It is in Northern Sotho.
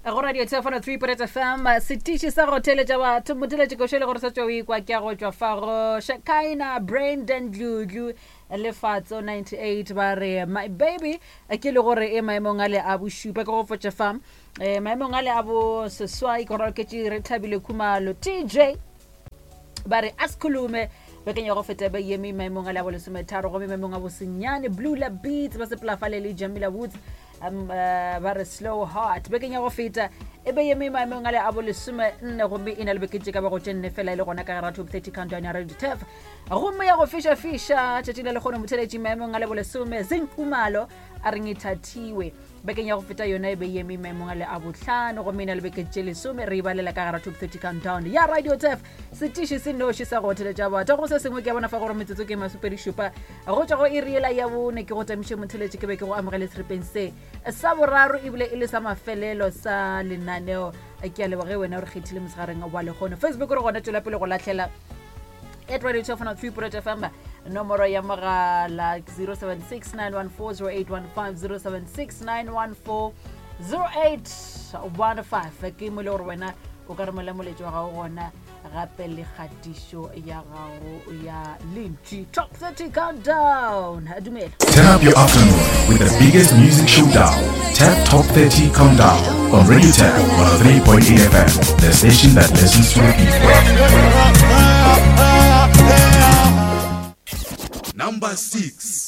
Go radio tshefano 3 point fm setiši sa go theletša batho motheletši košo le gore sa tšwa o ikwa ke ya go tšwa fa go shakaina brandon dludlu lefatso 98 ba re my baby ke le gore e maemong a le a bošupa ke go fotša fa um maemong a le a bo seswai ke gore oketše re thabile khumalo tj ba re a sekhulume bekeng ya go feta ba eme maemong a le a bolesometharo gomme maemong a bosenyane blue la beats ba sepelafale le jamila woods um, uh, ba re slow heart bekeng ya go feta e be eme maemong a le a bolesome nne gomme e na le beke tše ka bago tše nne fela e le gona ka gara top 30 countdown ya radio tef gomme ya go fiša-fiša tšatši la lekgono motheletši maemong a le bolesome zenkumalo a reng e thathiwe Bekeng ya go feta yona e be e eme maemong a le a bohlano gomme e na le beke tše lesome re e balela ka gara top 30 countdown ya radio tef setiši se noši sa go theletša batho go se sengwe ke a bona fa gore metsotso ke masopedi šupa go tšwa go iri yela ya bone ke go tamiše motheletše ke be ke go amogele seripeng se sa boraro ebile e le sa mafelelo sa lenaneo ke a leboge wena o re kgethile mosegareng wa lekgono facebook re gona tšwela pele go lahlela at radio 203 fm nomoro ya mogala 076 914 0815 076 ke mo le gore wena o ka romela moletši wa gago gona gape le kgatišo ya gago ya lentši top 30 countdown dumela Turn up your afternoon with the biggest music showdown, Tap Top 30 Countdown on Radio Tap 103.8 FM, the station that listens to the people. Number 6.